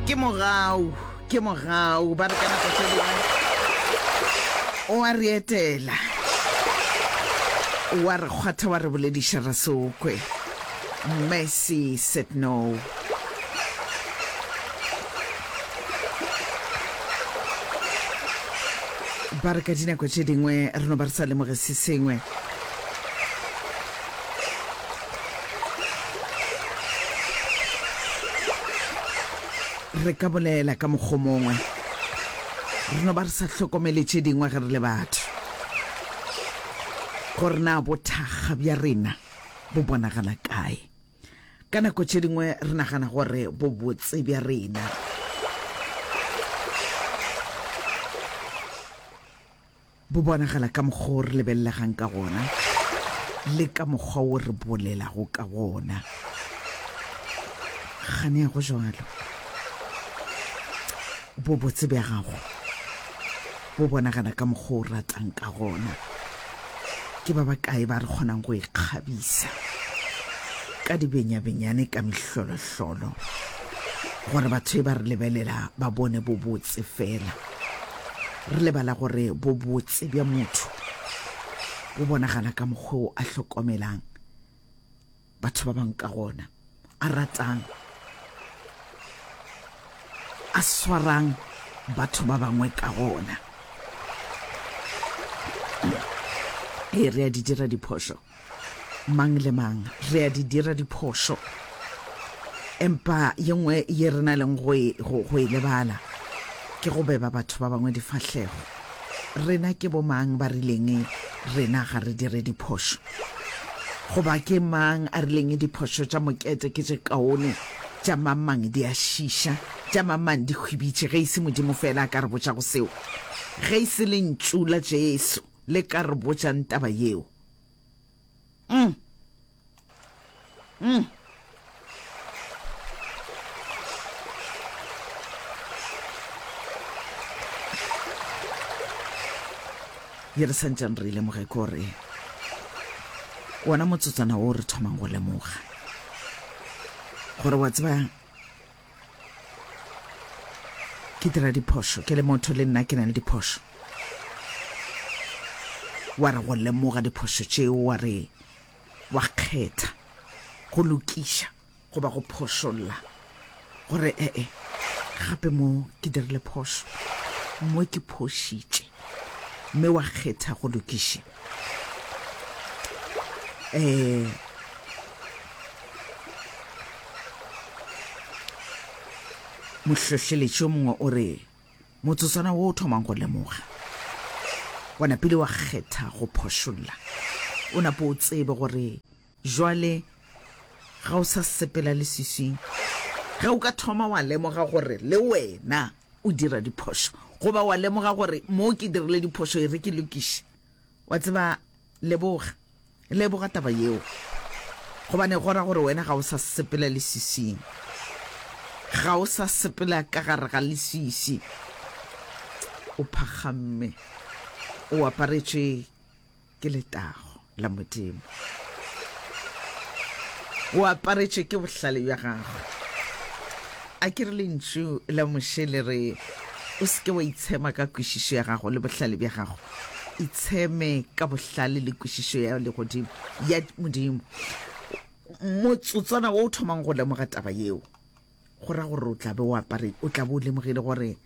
Ke mogau, ke mogau, ba re ka nako tše dingwe o a re etela, wa re kgwatha wa re bolediša ra se o kwe. Mercy said no. Ba re ka dinako tše dingwe re no ba re sa lemoge se sengwe. Re ka bolela ka mokgwa mongwe, re no ba re sa hlokomele tše dingwe ge re le batho, gore na bothakga bja rena bo bonagala kae. Ka nako tše dingwe re nagana gore bobotse bja rena bo bonagala ka mokgwa o re lebelelegang ka gona le ka mokgwa wo re bolelago ka gona. Kgane ya go jwalo. Bobotse bja gago bo bonagala ka mokgwa o ratang ka gona. Ke ba bakae ba re kgonang go ikgabisa ka dibenyabenyane ka mehlolohlolo gore batho e ba re lebelela ba bone bobotse fela. Re lebala gore bobotse bja motho bo bonagala ka mokgwa o a hlokomelang batho ba bangwe ka gona, a ratang, a swarang batho ba bangwe ka gona. Ee, re a di dira diphošo. Mang le mang, re a di dira diphošo. Empa ye nngwe ye re na leng go e, go, go e lebala ke go beba batho ba bangwe difahlego. Rena ke bomang ba rileng rena ga re dire diphošo? Goba ke mang a rileng diphošo tša mokete ke tše kaone, tša mang-mang di a šiša, tša mang-mang di hwibitše, ge e se Modimo feela a ka re botšago seo? Ge e se Lentšu la Jesu le ka re botšang taba yeo? Mm. Mm. Ye re santšang re e lemoge ke gore wona motsotswana wo re thomang go lemoga gore wa tseba ke dira diphošo ke le motho le nna ke na le diphošo wa re go lemoga diphošo tšeo wa re wa kgetha go lokiša goba go phošolla gore ee gape mo ke dirile phošo mo ke phošitše mme wa kgetha go lokiša um Mohlohleletši yo mongwe o re, Motsotswana wo o thomang go lemoga, wa napile wa kgetha go phošolla. O nape o tsebe gore jwale ga o sa sepela leswiswing. Ge o ka thoma wa lemoga gore le wena o dira diphošo, goba wa lemoga gore mo ke dirile diphošo e re ke lokiše, wa tseba, leboga. Leboga taba yeo, gobane go ra gore wena ga o sa sepela leswiswing. Ga o sa sepela ka gare ga leswiswi. O phakgamme. O aparetšwe ke letago la Modimo. O aparetšwe ke bohlale bja gagwe. A ke re lentšu la Moshe le re, O se ke wa itshema ka kwešišo ya gago le bohlale bja gago. Itsheme ka bohlale le kwešišo ya legodimo ya Modimo. Motsotswana wo o thomang go lemoga taba yeo, go ra gore o tla be o apare, o tla be o lemogile gore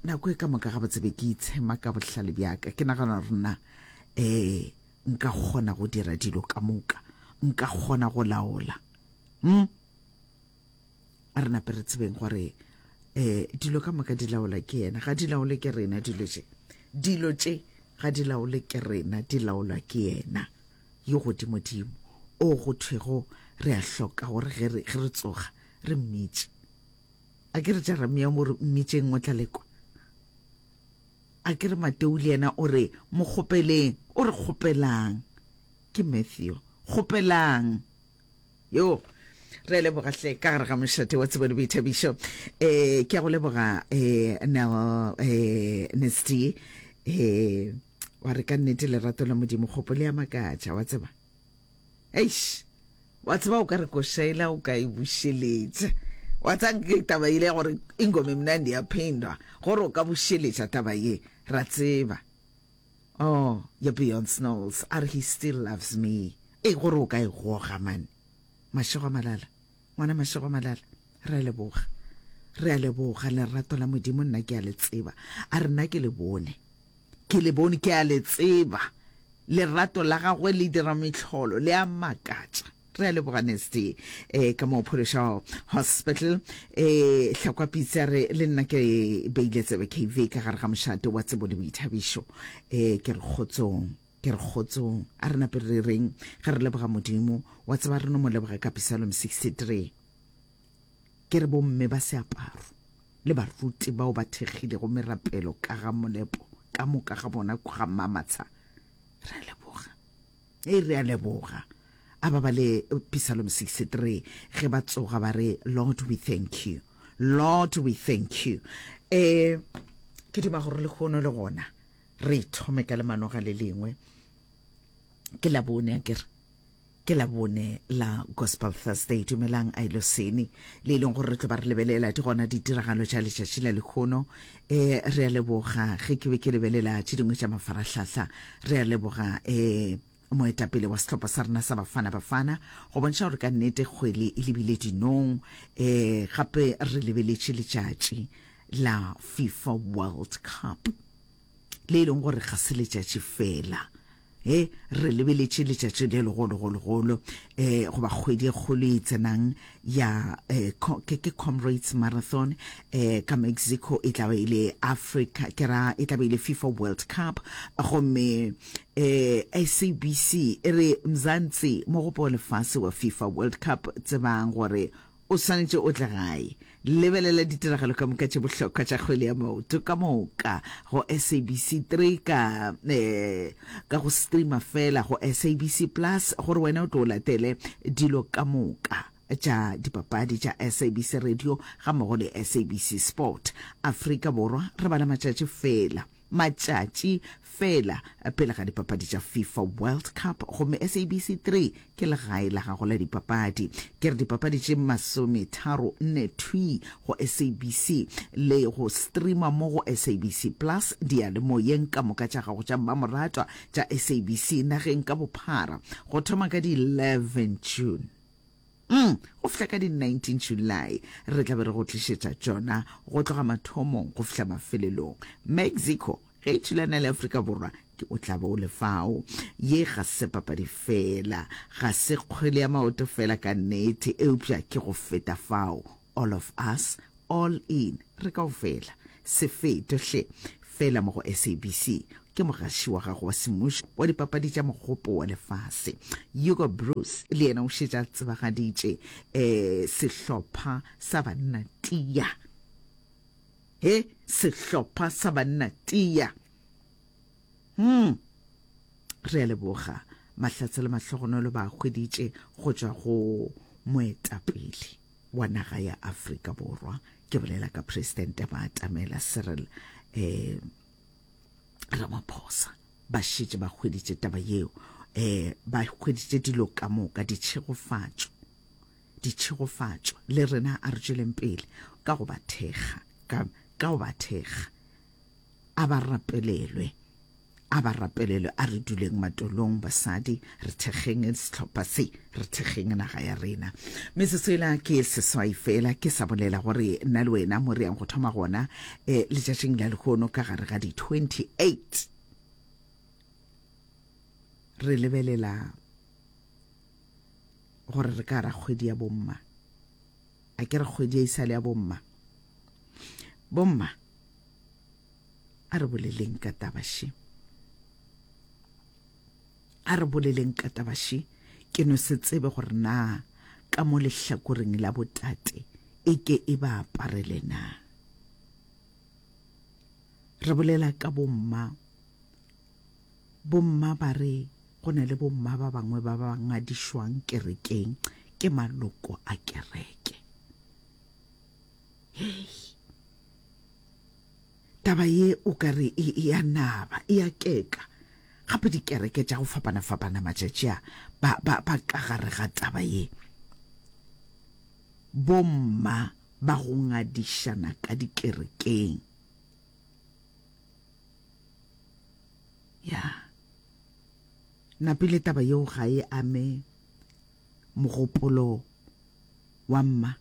nako e ka moka gabotse be ke itshema ka bohlale bja ka. Ke nagana gore nna um nka kgona go dira dilo ka moka, nka kgona go laola. Hmm? A re nape re tsebeng gore um dilo ka moka di laola ke yena, ga di laole ke rena dilo tše. Dilo tše ga di laole ke rena, di laolwa ke yena yo godimodimo, o go thwego re a hloka gore ge re, ge re tsoga re mmitše. A ke re Jeremia mo re mmitšeng o tla lekwa. A ke re Mateo le yena o re mo kgopeleng, o re kgopelang. Ke Matthew, kgopelang. Yo, re a leboga hle ka gare ga mošate wa tsebo le boithabišo. Eh, ke a go leboga eh, Nel eh, Nesty eh, wa re ka nnete lerato la Modimo kgopo le a makatša wa tseba. Eish, wa tseba o ka re košaela o ka e bušeletša. Wa tsang ke taba ile gore ingoma e mnandi ya phindwa gore o ka bušeletša taba ye ra tseba. Oh, ya Beyond Knowles a re he still loves me. E gore o ka e goga man. Mašego a malala. Ngwana Mašego a malala. Re a leboga. Re a leboga lerato la Modimo nna ke a le tseba. A re nna ke le bone. Ke le bone ke a le tseba. Lerato la gagwe le dira mehlolo le a makatša. Re a leboga Nesty eh, ka mo Phološo Hospital eh, Hlakwa Pitse a re le nna ke beile tsebe KV ka gare ga mošate wa tsebo le boithabišo eh, ke re kgotsong ke re kgotsong a re nape re reng ge re leboga Modimo wa tseba re no mo leboga ka Psalm 63 ke re bomme ba seaparo le baruti bao ba thekgilego merapelo ka ga molepo ka moka ga bona ga Mamatsha re a leboga Hei, re a leboga. A ba bale Psalm 63 ge ba tsoga ba re, Lord, we thank you. Lord, we thank you. Eh, ke duma gore lehono le gona re thome ka lemanoga le lengwe. Ke la bone akere. Ke la bone la Gospel Thursday. Dumelang Ailoseni le e leng gore re tlo ba re lebelela di gona ditiragalo tša letšatši la lehono. Eh, re a leboga ge ke be ke lebelela tše dingwe tša mafarahlahla. Re a leboga eh moetapele wa sehlopha sa rena sa Bafana Bafana go bontšha gore ka nnete kgwele e lebile dinong. Eh, gape re lebeletše letšatši la FIFA World Cup le e leng gore ga se letšatši fela. He, re lebeletše letšatši le legologologolo, eh, goba kgwedi e kgolo e tsenang ya eh, ke, ke Comrades Marathon eh, ka Mexico, e tla be e le Africa, ke ra e tla be e le FIFA World Cup, gomme eh, SABC e re Mzansi, mogopo wa lefase wa FIFA World Cup, tsebang gore O swanetše o tle gae. Lebelela ditiragalo ka moka tše bohlokwa tša kgwele ya maoto ka moka go SABC 3 ka eh, ka go streama fela go SABC Plus gore wena o tlo o latele dilo ka moka tša dipapadi tša SABC Radio gammogo le SABC Sport. Afrika Borwa re bala matšatši fela. Matšatši feela pele ga dipapadi tša FIFA World Cup gomme SABC 3 ke legae la gago la dipapadi. Ke re dipapadi tše masometharo nne thwii go SABC le go streama mo go SABC Plus diyalemoyeng ka moka tša gago tša mmamoratwa tša SABC nageng ka bophara go thoma ka di 11 June. Mm, go fihla ka di 19 July re tla be re go tlišetša tšona go tloga mathomong go fihla mafelelong. Mexico ge e thulana le Afrika Borwa ke o tla be o le fao. Ye ga se papadi fela, ga se kgwele ya maoto fela ka nnete, eupša ke go feta fao. All of us, all in, re kaofela. Se fetwe hle, fela mo go SABC. Ke mogaši wa gago wa semmušo wa dipapadi tša Mogopo wa Lefase. Hugo Broos le yena o šetše a tsebagaditše um sehlopha sa banna tia. He, sehlopha sa banna tia. Hmm. Re a leboga. Mahlatse le mahlogonolo ba a hweditše go tšwa go moetapele wa naga ya Afrika Borwa. Ke bolela ka Presidente ba atamela Cyril eh, Ramaphosa. Ba šetše ba hweditše taba yeo. Eh, ba hweditše dilo ka moka, ditšhegofatšo. Ditšhegofatšo. Le rena a re tšweleng pele ka go ba thekga, ka, ka go ba thekga. A ba rapelelwe. A ba rapelelwe. A re duleng matolong, basadi, re thekgeng sehlopha se, re thekgeng naga ya rena. Metsotso ela ke seswai fela, ke sa bolela gore nna le wena mo re yang go thoma gona eh, letšatšing la lehono ka gare ga di 28 re lebelela gore re ka ra kgwedi ya bomma. A ke re kgwedi ya isale ya bomma. Bomma, A re boleleng ka taba še. A re boleleng ka taba še. Ke no se tsebe gore na ka mo lehlakoreng la botate e ke e ba aparele na. Re bolela ka bomma. Bomma ba re go na le bomma ba bangwe ba ba ngadišwang kerekeng ke maloko a kereke. Hei. Taba ye o ka re e, e a naba, e a keka. Gape dikereke tša go fapana-fapana matšatši a ba, ba, ba ka gare ga taba ye. Bomma ba go ngadišana ka dikerekeng. Ya. Napile taba yeo ga e ame mogopolo wa mma.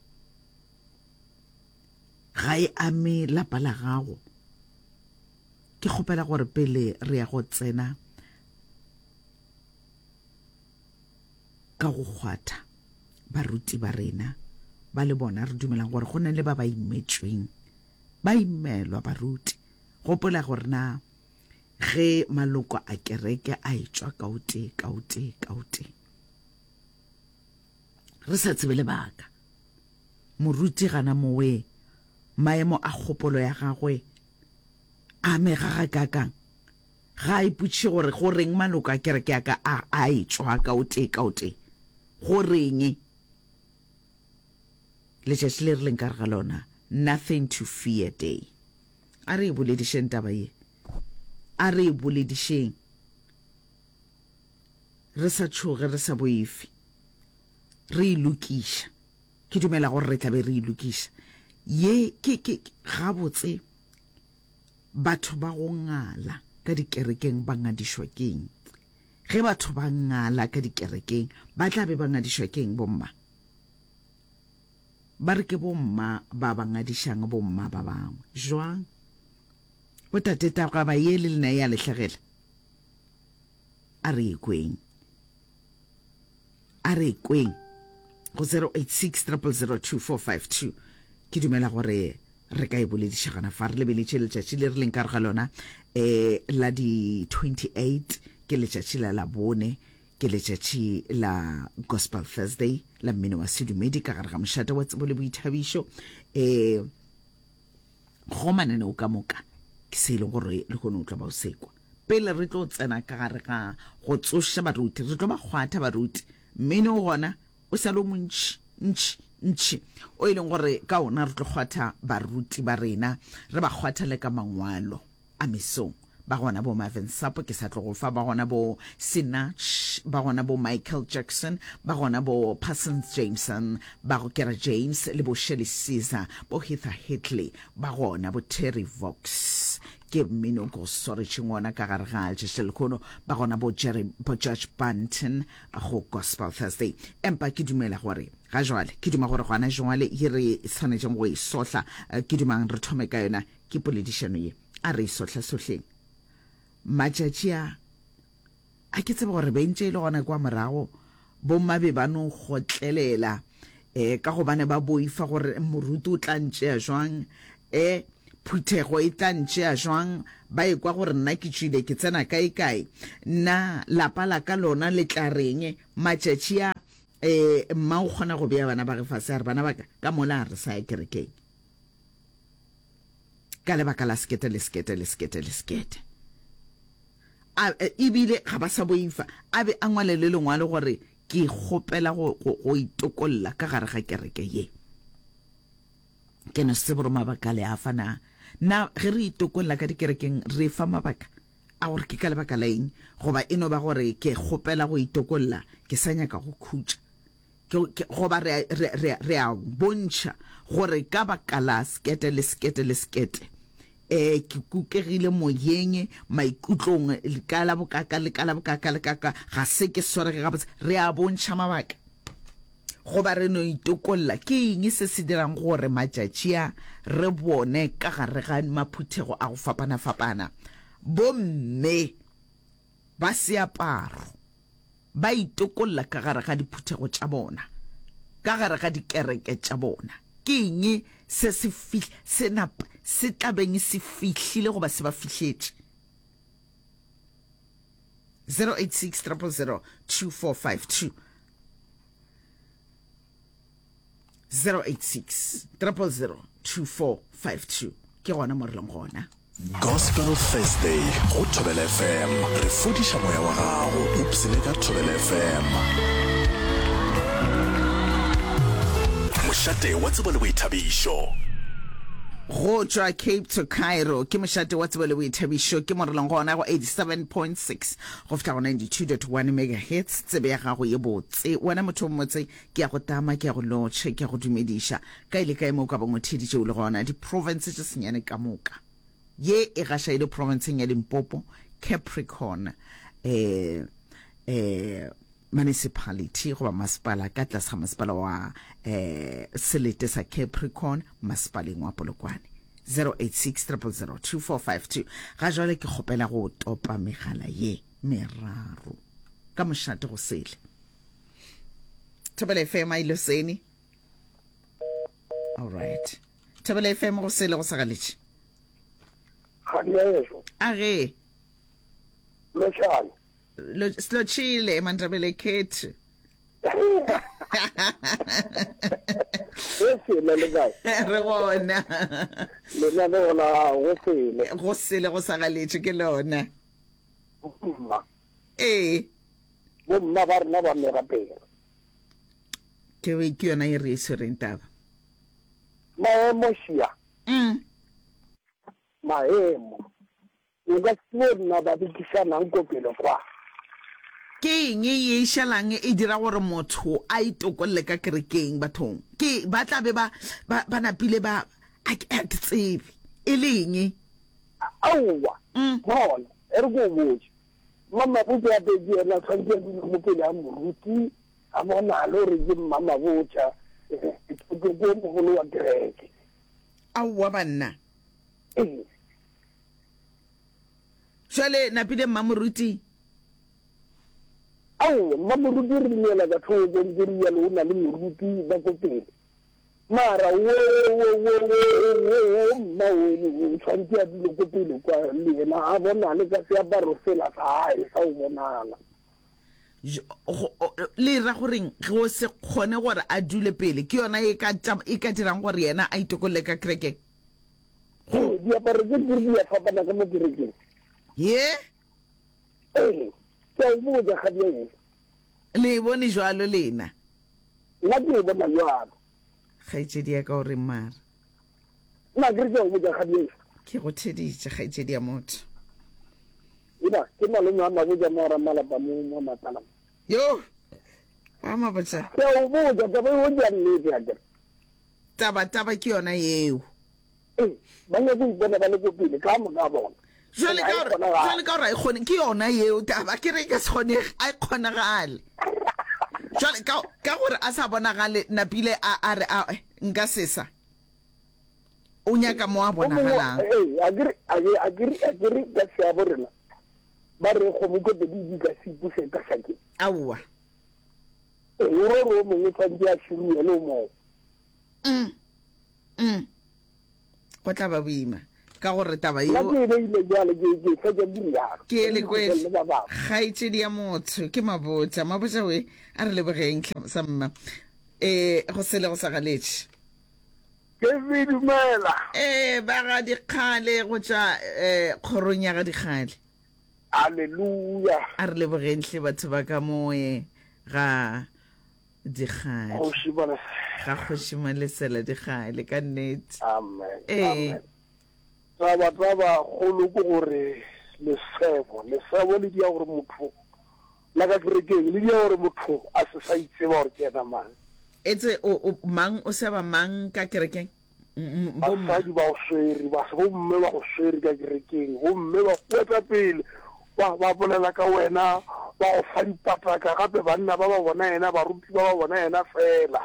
Ga e ame lapa la gago. Ke kgopela gore pele re ya go tsena ka go kgwatha baruti ba rena ba le bona re dumelang gore go na le ba ba imetšweng ba imelwa baruti. Gopola gore na ge maloko a kereke a etšwa ka o tee ka o tee ka o tee re sa tsebe lebaka, moruti gana mowe maemo a kgopolo ya gagwe a amega gakaakang? Ga a ipotšiše gore go reng maloko a kereke ya ka a a etšwa ka o tee ka o tee. Go reng? Letšatši le re leng ka re ga lona, Nothing to Fear Day. A re e boledišeng taba ye. A re e boledišeng. Re sa tšhoge, re sa boife. Re e lokiša. Ke dumela gore re tla be re e lokiša. Ye ke, ke, gabotse batho ba go ngala ka dikerekeng ba ngadišwa keng? Ge batho ba ngala ka dikerekeng ba tla be ba ngadišwa keng bomma? Ba re ke bomma ba ba ngadišang bomma ba bangwe. Jwang? Botate taba ye le lena e a le hlagela? A re e kweng. A re e kweng go 086 000 2452. Ke dumela gore re ka e bolediša gona fa re lebeletše letšatši le re leng ka re ga lona um la di 28 ke letšatši la labone ke letšatši la Gospel Thursday la mmino wa sedumedi ka gare ga mošate wa tsebo le boithabišo um go mananeo ka moka ke se e leng gore le kgone o tlo ba o sekwa pele re tlo tsena ka gare ga go tsoša baruti re tlo ba kgwatha baruti mmino o gona o sa le o montši ntši ntši o e leng gore ka ona re tlo kgwatha baruti ba rena re ba kgwatha le ka mangwalo a mesong. Ba gona bo Marvin Sapp, ke sa tlo go fa, ba gona bo Sinach, ba gona bo Michael Jackson, ba gona bo Parsons Jameson, ba go kera James le bo Shirley Caesar, bo Heather Hitley, ba gona bo Terry Vox. Ke mmino ke go swaretšeng wona ka gare ga letšatši la lehono. Ba gona bo Jerry, bo George Banton go Gospel Thursday. Empa ke dumela gore ga jwale, ke duma gore gona jwale ye re swanetšeng go e sohla, ke dumang re thome ka yona, ke poledišano ye. A re e sohlasohleng. Matšatši a, a ke tsebe gore bentše e le gona kwa morago, bomma be ba no kgotlelela um ka gobane ba boifa gore moruti o tla ntšea jwang, um phuthego e tla ntšea jwang, ba ekwa gore nna ke tšwile ke tsena kae kae, na lapa la ka lona le tla reng. Matšatši a, um mma o kgona go bea bana ba ge fase a re, bana ba ka, ka mola a re sa ya kerekeng. Ka lebaka la sekete le sekete le sekete le sekete. A, ebile ga ba sa boifa. A be a ngwale le lengwalo gore ke kgopela go, go, go itokolla ka gare ga kereke ye. Ke no se tsebe gore mabaka le a fa na. Na ge re itokolla ka dikerekeng re fa mabaka a gore ke ka lebaka la eng, goba e no ba gore ke kgopela go itokolla, ke sa nyaka go khutša. Ke, ke, goba re, re, re, re a bontšha gore ka baka la sekete le sekete le sekete, eh, ke kukegile moyeng, maikutlong, ka la bokaka le ka la bokaka le ka ka, ga se ke swarege gabotse. Re a bontšha mabaka. Goba re no itokolla. Ke eng se se dirang gore matšatši a re bone ka gare ga maphuthego a go fapana-fapana bomme ba seaparo ba itokolla ka gare ga diphuthego tša bona, ka gare ga dikereke tša bona. Ke eng se se fih, se nap, se tla beng se fihlile goba se ba fihletše? 086 000 2452 086 000 2452 ke gona mo re leng gona. Gospel Thursday go Thobela FM. Re fodiša moya wa gago. Ipsene ka Thobela FM. Mošate wa tsebo le boithabišo. Go tšwa Cape to Cairo ke mošate wa tsebo le boithabišo, ke mo re leng gona go 87.6 go fihla go 92.1 megahertz. Tsebe ya gago ye botse, wena motho o mmotse, ke ya go tama, ke ya go lotšha, ke ya go dumediša. Kae le kae mo o ka bong o theeditše o le gona, diprofense tše senyane ka moka. Ye e gaša e le profenseng ya Limpopo, Capricorn, eh, eh, Municipality goba masepala ka tlase ga masepala wa eh, selete sa Capricorn masepaleng wa Polokwane. 086 000 2452. Ga jwale ke kgopela go topa megala ye meraro ka mošate go sele. Thobela FM a ile sene. All right. Thobela FM go sele go sa galetše. Ga di a ešo. A ge. Lotšhane. Silotshile emandebele ekhethu. Go sele le kae? Re gona. Lena le gona go sele. Go sele go sa galetše ke lona. Bomma. Ee. Bomma ba rena ba merapelo. Ke ke yona e re e swereng taba. Maemo šia. Mm. Maemo. O ka se tsebe nna ba bekišanang ko pele kwa. Ke eng ye e šalang e dira gore motho a itokolle ka kerekeng bathong? Ke ba tla be ba ba ba napile ba a ke a ke tsebe e le eng. Aowa, Mm. bona, e re ke o botše. Mmamabotša ya pedi yena tshwanetse a dule mo pele ga moruti a bonale gore ke mmamabotša, eh, ke ke o mogolo wa kereke. Aowa banna. Ee. Jwale napile mmamoruti. Aowa, mmamoruti re dumela ka thoko nke rialo o na le moruti ba ko pele. Mara wo wo wo wo wo wo mma o o tshwanetse a dule ko pele kwa le yena a bonale ka seaparo sela sa hae sa go bonala. Le ra goreng go se kgone gore a dule pele ke yona e ka e ka dirang gore yena a itokolle ka kerekeng? Go diaparo tse di di a fapana ka mo kerekeng. Ye? Ee, ke a o botša kgadi Le e bone jwalo lena? Nna ke e bona jwalo. Kgaetšedi ya ka o reng mara? Nna ke re ke a o botša kgadi Ke go theditše kgaetšedi ya motho. Ena ke malome a mabotša mo ramalapa mo mo matala. Yo! Wa mabotša. Ke a o botša taba eo ke ya nnete ya kere. Taba taba ke yona yeo. Ee, ba nyaka go ipona ba le ko pele ka moka ga bona. Jwale ka gore jwale ka gore a e kgone ke yona yeo taba ke re e ka se kgonege a e kgonagale. Jwale ka ka gore a sa bonagale napile a a re a nka sesa. O nyaka mo a bonagalang. Ee, a ke re a ke a ke re a ke re ka seabo rena ba re kgomo ko pedi di ka se ipuse ka šakeng. Aowa. Ee, o re o mongwe tshwanetse a širuwe le o mongwe. Mm. Mm. Go tla ba boima ka gore taba Nna yeo ke e beile bjale, ke ke fetša ke rialo. ke e Ke lekwele le ba bangwe. kgaetšedi ya motho ke mabotša mabotša we a re lebogeng tlha sa mma um go sele go sa galetše Ke se dumela. ee ba ga dikgale go tšwa um kgorong ya ga dikgale Haleluya. a re lebogeng hle batho ba ka moe ga Dikgale. Kgoši Malesela. Ga Kgoši Malesela Dikgale, ka nnete. Amen. Ee. Amen. Taba taba kgolo ke gore lesebo, lesebo le dia gore motho la ka kerekeng le dia gore motho a se sa itseba gore ke yena mang. Etse o, o mang o seba mang ka kerekeng? Basadi ba go swere, ba bomme ba go swere ka kerekeng, gomme ba go eta pele, ba, ba bolela ka wena, ba go fa dipataka, gape banna ba ba bona yena, baruti ba ba bona yena feela.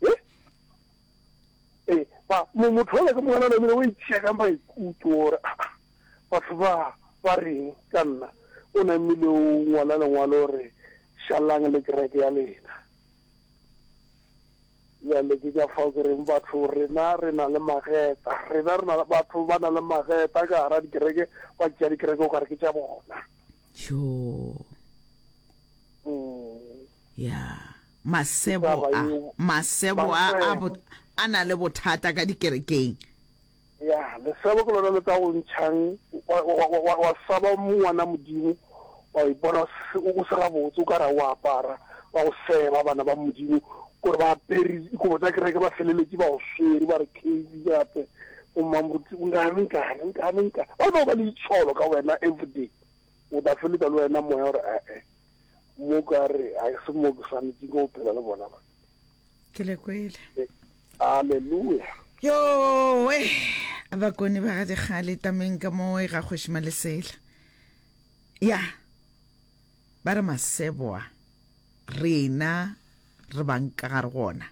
E? E, ba, mo, motho yola ke mongwana namile o itšea ka maikutlo gore, ah, ah, batho ba ba reng ka nna? O namile o ngwala lengwalo gore, šalang le kereke ya lena. Bjale ke ka fao ke reng batho rena re na le mageta. Rena re na le batho ba na le mageta ka gara dikereke, ba tšea dikereke o ka re ke tša bona. Tjoo. Mm. Ya. Masebo a, masebo a, a, a na le bothata ka dikerekeng. Ya, lesebo ke lona le tla go ntšhang wa, wa, wa, wa, wa saba ngwana Modimo, wa ipona o se, o se gabotse, o ka re o apara, ba go seba bana ba Modimo, kore ba apere dikobo tsa kereke, ba feleletše ba go swere, ba re Casey gape. O mmamoruti, nkane, nkane, nkane, nkane. Ba no ba le itsholo ka wena everyday. O tla feletsa le wena moya gore ee, mo ka re ga se mo ke swanetšeng ke go phela le bona ba. Ke le kwele. Aleluya. Yowe, bakone ba ga dikgale tameng ka mo e ga kgoši Malesela. Ya, ba re maseboa rena re bang ka gare gona.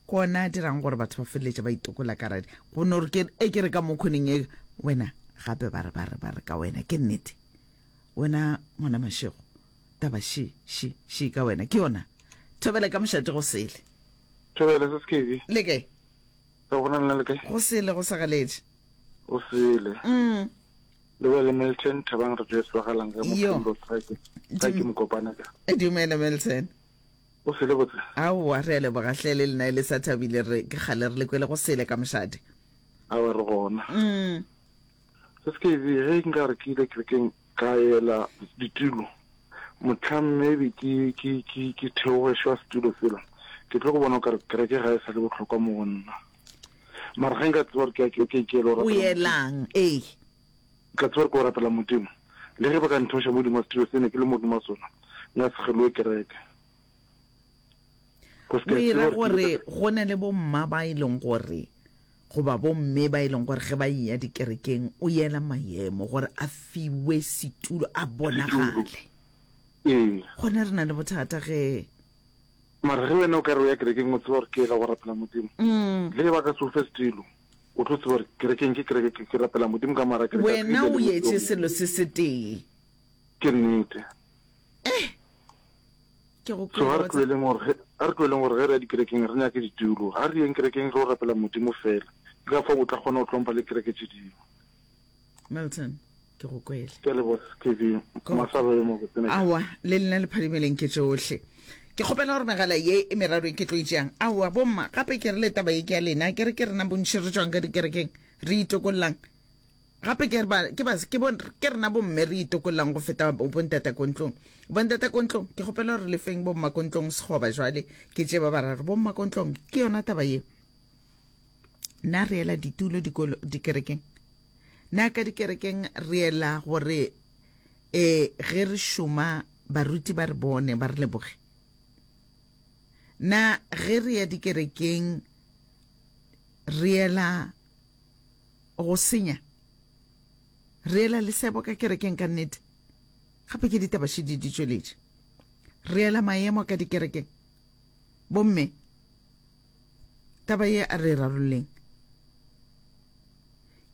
Ke ona a dirang gore batho ba feleletše ba itokola ka radi. Go no re ke e ke re ka mo khoneng e wena gape ba re ba re ba re ka wena ke nnete. Wena ngwana Mashego taba she she she ka wena ke yona. Thobela ka mošate go sele. Thobela se sekebe. Le kae? Re gona lena le kae? Go sele go sa galetše. Go sele. Mm. Le ba le Milton Thabang re tšwe tswagalang ka mo Kimbo Strike. Ka ke mokopana ka. E dumela Milton. O sele botse. Aowa re a leboga hle le lena e le sa thabile re ke kgale re le kwele go sele ka mošate. Aowa re gona. Mm. Se se ke ge nka re ke ile kerekeng ka ela ditulo mohlang maybe ke ke ke ke theogešwa setulo sela ke tlo go bona o kare kereke ga e sa le bohlokwa mo go nna. Mara ge nka tseba gore ke ya kerekeng ke ela go O rapela Modimo. yelang ee. Ka tseba gore ke go rapela Modimo. Le ge ba ka ntheoša mo godimo ga setulo se ne ke le mo godimo ga sona, nka se kgelowe kereke. Cause ke O a e tseba ra gore ke ile gore ka. go na le bomma ba e leng gore goba bomme ba e leng gore ge ba eya dikerekeng o yela maemo gore a fiwe setulo a Setulo. bonagale. Ee. Gona re na le bothata ge. Mara ge wena o ka re o ya kerekeng o tseba gore ke yela go rapela Modimo, Mm. le ge ba ka se o fe setulo, O tlo tseba gore kerekeng ke kereke, ke, ke rapela Modimo ka mara kereke. Wena o yetše selo se setee. Ke nnete. Eh! Ke go So a re tloeleng gore, a re tloeleng gore ge re ya dikerekeng re nyake ditulo. A re yeng kerekeng re o rapela Modimo fela. Ke ka fao o tla kgona go hlompha le kereke tše dingwe. Milton, ke go kwele. Ke a leboga KB. Masaba yo mobotse ne. Aowa, le lena le phadimeleng ke tšohle. Ke kgopela gore megala ye e meraro e ke tlo e tšeang. Aowa, bomma, gape ke re le taba ye ke ya lena. Ke re ke rena bontši re tšwang ka dikerekeng, re itokollang. Gape ke re ba, ke ba, ke bon, ke rena bomme re itokollang go feta bontata ko ntlong. Bontata ko ntlong, ke kgopela gore le feng bomma ko ntlong sekgoba jwale. Ke tše ba bararo. Bomma ko ntlong, ke yona taba ye. Na re ela ditulo dikolo, dikerekeng? Na ka dikerekeng re ela gore e ge re šoma baruti ba re bone ba re leboge? Na ge re ya dikerekeng re ela go senya? Re ela lesebo ka kerekeng ka nnete? Gape ke ditaba šedi di tšweletše. Re ela maemo ka dikerekeng? Bomme, Taba ye a re e rarolleng.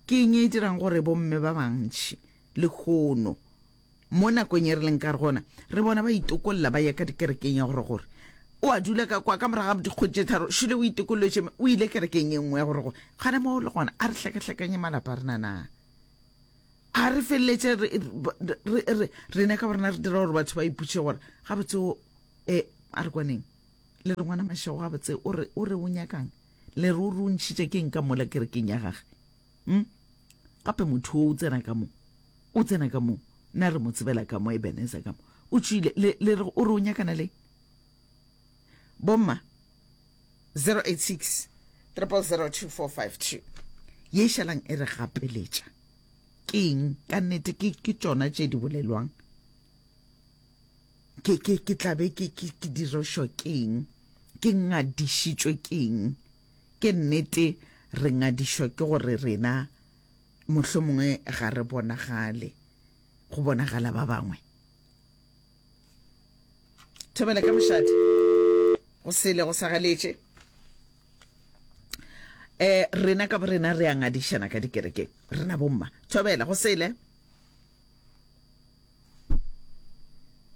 Ke eng e dirang gore bomme ba bantši lehono mo nakong ye re leng ka gona re bona ba itokolla ba ya ka dikerekeng ya gore gore o a dula ka kwa ka morago ga dikgwedi tše tharo šole o itokollotše o ile kerekeng e nngwe ya gore gore gana mo le gona a re hlakahlakanye malapa a rena na a re feleletše rena ka borena re dira gore batho ba iputše gore gabotse o e a re kwaneng Le re ngwana Mashego gabotse o re o re o nyakang? Le re o re o ntšhitše ke eng ka mola kerekeng ya gage? Hm? Gape motho o o tsena ka mo. O tsena ka mo. Nna re mo tsebela ka mo Ebenezer ka mo. O tšwile. Le, le re o re o nyakana le bomma 086 0002452 ye šalang e re gapeletša ke eng ka nnete ke ke tšona tše di bolelwang Ke, ke, ke tla be ke, ke, ke dirošwa keng? Ke ngadišitšwe keng? Ke nnete re ngadišwa ke gore rena mohlomongwe ga re bonagale, go bonagala ba bangwe. Thobela ka mošate, go sele go sa galetše. Eh, rena ka borena re a ngadišana ka dikerekeng, rena bomma. Thobela, go sele.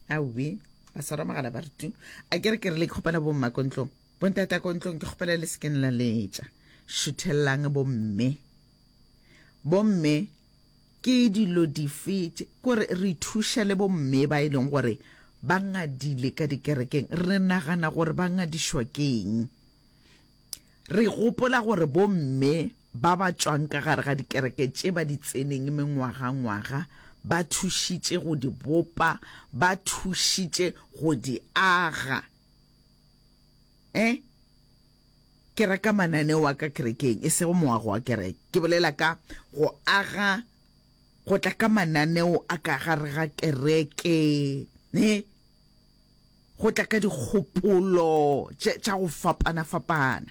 Aowi, ba swara mogala ba re tu. A ke re ke re le kgopela bomma ko ntlong. Bontata ko ntlong ke kgopela le sekeng la letša. Šuthelelang bomme. Bomme ke dilo dife kore re thuša le bomme ba e leng gore ba ngadile ka dikerekeng. Re nagana gore ba ngadišwa keng? Re gopola gore bomme ba ba tšwang ka gare ga dikereke tše ba di tseneng mengwagangwaga ba thušitše go di bopa, ba thušitše go di aga. Eh? Ke ra ka mananeo a ka kerekeng, e sego moago wa kereke. Ke bolela ka go aga, go tla ka mananeo a ka gare ga kereke, ne? Go tla ka dikgopolo tše, tša go fapana-fapana.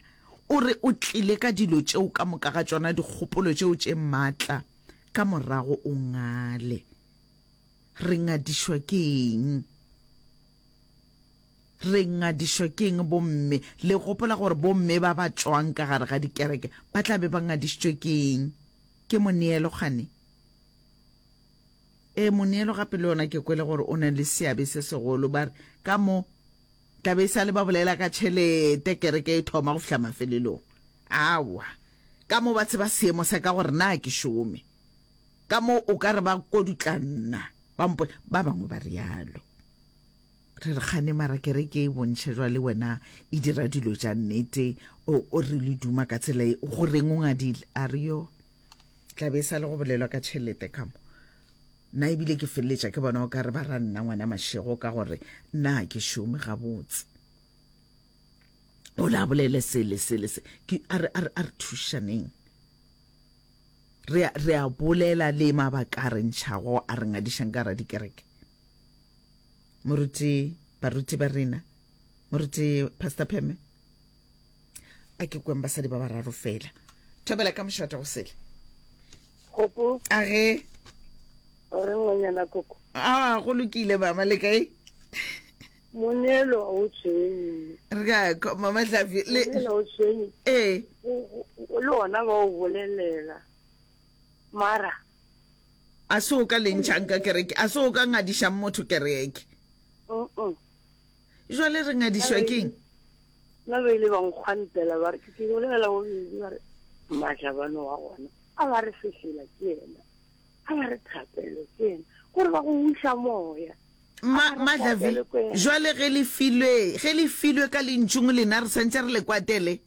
O re o tlile ka dilo tšeo ka moka ga tšona, dikgopolo tšeo tše matla, ka morago o ngale. Re ngadišwa ke eng? Re ngadišwa ke eng bomme? Le gopola gore bomme ba ba tšwang ka gare ga dikereke ba tla be ba ngadišitšwe ke eng? Ke moneelo kgane? Ee, moneelo gape le yona ke kwele gore o na le seabe se segolo. Ba re ka mo tla be e sa le ba bolela ka tšhelete kereke e thoma go fihla mafelelong. Aowa, ka mo ba tseba seemo sa ka gore na ke šome. Ka mo o ka re ba kodutla nna, ba mpo ba bangwe ba realo. Re re kgane mara kereke e bontšha jwale wena e dira dilo tša nnete o o re le duma ka tsela e go reng o ngadile a re yo tla be e sa le go bolelwa ka tšhelete ka mo nna ebile ke feleletša ke bona o ka re ba ra nna ngwana mašego ka gore nna ga ke šome gabotse o la bolele sele sele se ke a re a re a re thušaneng re re a bolela le mabaka a re ntšhago a re ngadišang ka ra dikereke Moruti, baruti ba rena, Moruti Pastor Pheme, a ke kweng basadi ba bararo fela. Thobela ka mošate go sele. Koko. A ge. O re ngwanyana koko. A go lokile mama le kae? Moneelo a o tshwenye. Re ka mama Hlafi le. Moneelo o tshwenye. Ee. Le ona ba o bolelela. Mara A se o ka le ntšhang ka kereke, a se o ka ngadišang motho kereke. Jwale re ngadišwa keng? Nna ba ile ba nkgwantela ba re ke ke bolela bobedi ba re majabano wa gona a ba re fehlela ke yena a ba re thapelo ke yena gore ba go wiša moya Ma, Madlavi, jwale ge le filwe, ge le filwe ka lentšung lena re santše re le kwatele.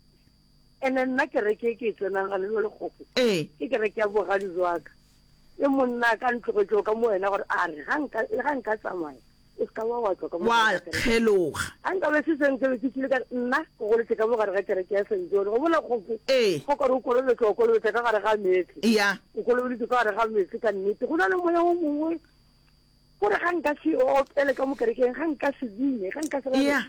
Ene nna kereke e ke e tsenang gane jwale kgopo Ee. ke kereke ya bogadi jwa ka. Le monna a ka ntlogetšego ka mo wena gore a re ga nka le ga nka tsamaya o se ka wa wa tšwa ka mo Wa gare ga kereke. kgeloga. Ga nka be se seng se be ke tšwile ka re nna ke goletše ka mo gare ga kereke ya St. John. Go bona kgopo Ee. go ka re o kolobetšwa o kolobetša ka gare ga meetse. Ya. O kolobeditšwe ka gare ga meetse ka nnete. Go na le moya o mongwe gore ga nka se opele ka mo kerekeng, ga nka se bine, ga nka se Ya.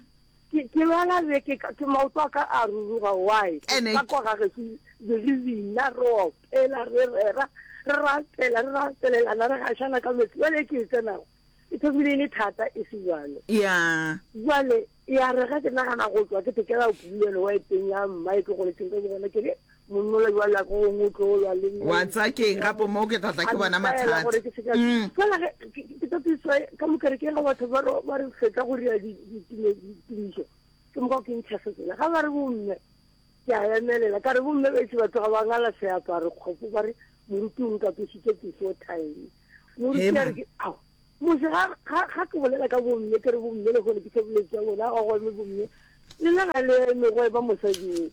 Ke, ke lwala beke ka, ke maoto a ka a ruruga, why? Ene Ka kwa ga gešo be re bina, re opela, re rera, re rapela, re rapelelana, re gašana ka meetse. Bjale e ke e tsenago, e thomile e le thata e se bjalo. Ya. Bjale ya re ge ke nagana go tšwa ke tekela pulelo wa eteng ya mma e ke goletseng ka gona, ke re monnola jwale a ko gongwe o tlo lwa le nna. Wa tseba keng gape mo ke tla tla ke bona mathata. Gore ke seka mm. fela ge ke tlo tswa ka mo kerekeng ga batho ba ba re fetsa go ria ditumišo ke moka ke ntšha setsela ga ba re bomme ke a emelela ka re bomme ba itse batho ga ba ngala seaparo kgopo ba re moruti o nkapesitse before time moruti a re ke ao Mose ga, ga, ga ke bolela ka bomme, ke re bomme lehono ke seboledi tša bona, ga go eme bomme. Lena ga le eme go ema mosadi o.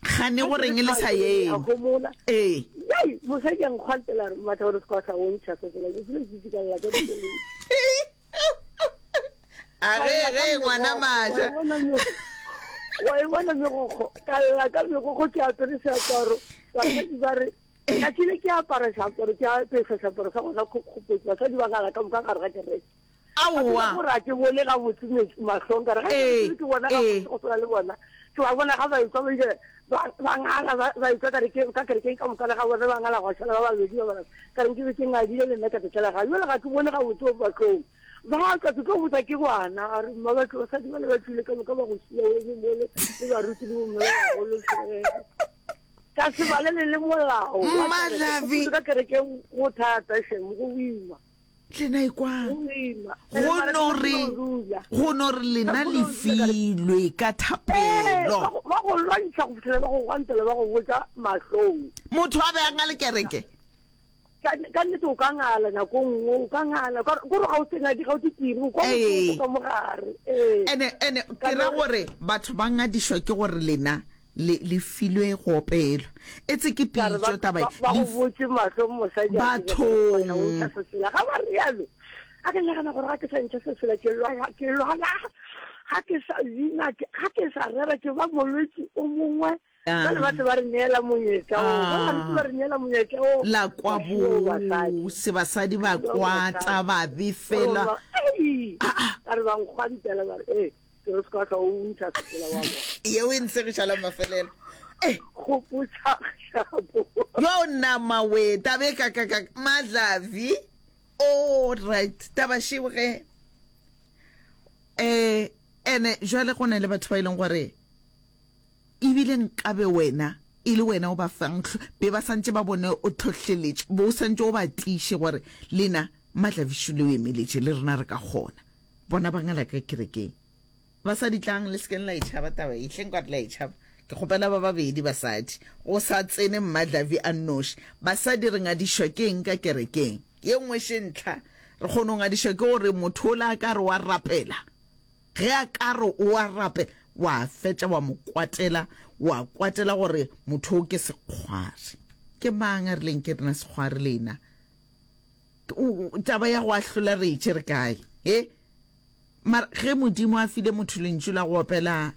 Gane go reng le sa eme? A homola. Ee. Yai, mosadi a nkgwantela a re, Mmatha gore se ka tla o ntšha se tsela, ke sele ke itse ka lla ka dikeledi. A ge, ge, ngwana maja. Wa e bona megokgo, ka lla ka megokgo ke apere seaparo. Basadi ba re, Tšatši le ke apara seaparo, ke apesa seaparo sa gona kgopotse, basadi ba ngala ka moka gare ga kereke. Aowa. Gore a ke bone gabotse mahlong ka re ga Ee, ke bona ee. gabotse go swana le bona. Ke ba bona ga ba etšwa ba ile ba ba ngala ba ba etšwa ka reke ka kerekeng ka moka le ga bona ba ngala gwa šala ba babedi ba bararo. Ka re nke be ke ngadile le nna ka tletlela gae. Jwale ga ke bone gabotse mo mahlong. Ba tla ke tlo botsa ke ngwana a re mma batho basadi ba le ba tšwile ka moka ba go šia o eme mole le baruti le bomme ba bagolo. Ka se balele le molao. Mma Davi. Ka kerekeng go thata shem, go boima. Lena ekwang. Go boima. Go no re, go no re lena le filwe ka thapelo. Ba go lwantšha go fihlela ba go gwantela ba go botša mahlong. Motho a be a ngale kereke. Ka ka nnete o ka ngala nako nngwe, o ka ngala. Ka gore ga o se ngadi, ga o se tiri, o kwa bohloko ka mogare. Ee. Ene, ene, ke ra gore batho ba ngadišwa ke gore lena le, le filwe go opelwa. Etse ke pitšo taba ye. Ba go botše mahlo mosadi a Bathong. ntšha sesela. Ga ba rialo, a ke nagana gore ga ke sa ntšha sesela ke lwala, ke lwala. Ga ke sa bina, ga ke sa rera ke ba molwetši o mongwe. Bjale ba se ba re neela monyetla wo. Ba baruti ba re neela monyetla wo. La kwa bose basadi ba kwata ba befela. Ka re ba nkgwantela ba re ee ke re se ka hlwa o ntšha setsela wa bona. Yeo e ntshegiša la mafelelo. Eh. Gopotša shapo. Yo nama we tabe ka ka ka madlavi. All right taba šeo ge. Eh ene jwale go na le batho ba e leng gore Ebile nkabe wena e le wena o ba fang be ba santše ba bone o tlhohleletše, bo o santše o ba tiiše gore lena Matlavišu le o emeletše, le rena re ka kgona. Bona ba ngala ka kerekeng. Basadi tlang, le se keng la e tšhaba taba ye, hleng ka re le a e tšhaba. Ke kgopela ba babedi basadi, go sa tsene Mmadlavi a nnoši. Basadi re ngadišwa ke eng ka kerekeng? Ye nngwe še ntlha, re kgona go ngadišwa ke gore motho ola a ka re wa rapela, Ge a ka re o a rapela, wa fetša wa mo kwatela, wa kwatela gore motho o ke sekgwari. Ke mang a rileng ke rena sekgwari lena? Taba ya go ahlola re e tšere kae? He? Mara ge Modimo a file motho lentšu la go opela,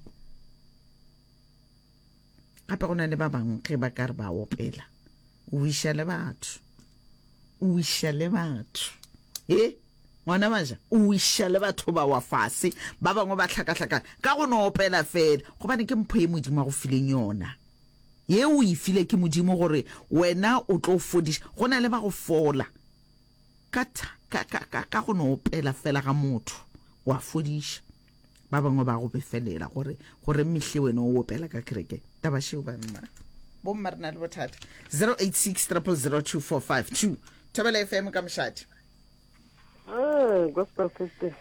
gape go na le ba bangwe ge ba ka re ba opela, o iša le batho, o iša le batho. He? Ngwana maja o wiša le batho ba wa fase, ba bangwe ba hlakahlakana ka go no opela fela, gobane ke mpho ye Modimo a go fileng yona. Ye o e file ke Modimo gore wena o tlo fodiša. Go na le ba go fola ka, ka, ka, ka, ka go no opela fela ga motho, wa fodiša. Ba bangwe ba go befelela gore, gore mehle wena o opela ka kerekeng. Taba šeo banna. Bomma re na le bothata. 086 000 2452. Thobela FM ka mošate. Ah, gospel Thursday.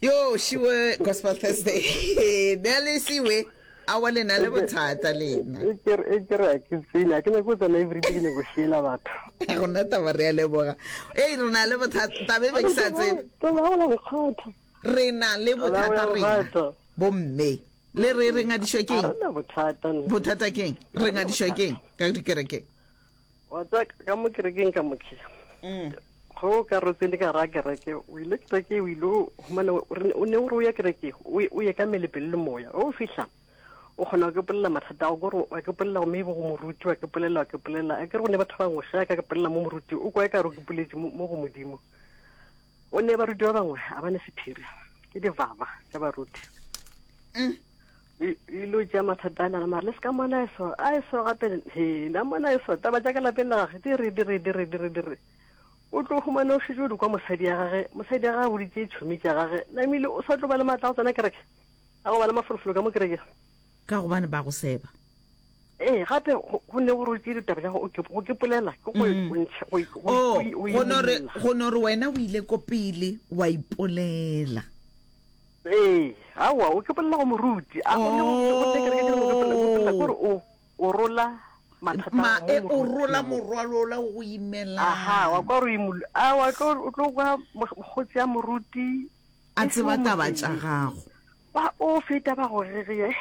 Yo, šiwe Gospel Thursday. Ne le siwe. Awa le na le bothata lena. E ke e ke re ke tsene, ke nyako tsena every day ke nyako shela batho. Ga gona taba re a leboga. Ei re na le bothata taba e be ke sa tsebe. Taba ga la bothata. Re na le bothata rena. Bomme le re re ngadišwa keng? Bothata. Bothata keng? Re ngadišwa keng ka dikerekeng? Wa tseba ka mo kerekeng ka mokhe. Mm. Go ka re tsene ka ra kereke, o ile kereke o ile o humana o ne o re o ya kereke, o ye ka mele pele le moya. O fihla o kgona go polela mathata a gore wa ke polela go maybe go moruti wa ke polela wa ke polela a ke re go ne batho ba bangwe ge ka ke polela mo moruti o kwa e ka re ke poletse mo go modimo o ne baruti ba bangwe a ba ne sephiri ke divava tša baruti mm. ilo tša mathata a lana mara le se ka mona eso a eso gape he na mona eso taba tša ka lapeng la gage di re di re di re di re di re o tlo humana o šetše o di kwa mosadi ya gage mosadi ya gage boditše tšhomi tša gage namile o sa tlo ba le maatla a go tsena kereke a go ba le mafolofolo ka mo kereke ka gobane ba go seba ee gape go ne go rotse ditaba tša go ke polela ke go mm. oh, go no re wena o ile ko pele wa ipolela Ee, aowa, o ke bolela go moruti. A go ne go ne kereke ke go bolela gore o o rola mathata Ma, e, o rola morwalo ola o go imelang. Aha, wa kwa re imul. A wa tlo o tlo kwa mokgotsi ya moruti a tseba taba tša gago. Ba o feta ba go gegea.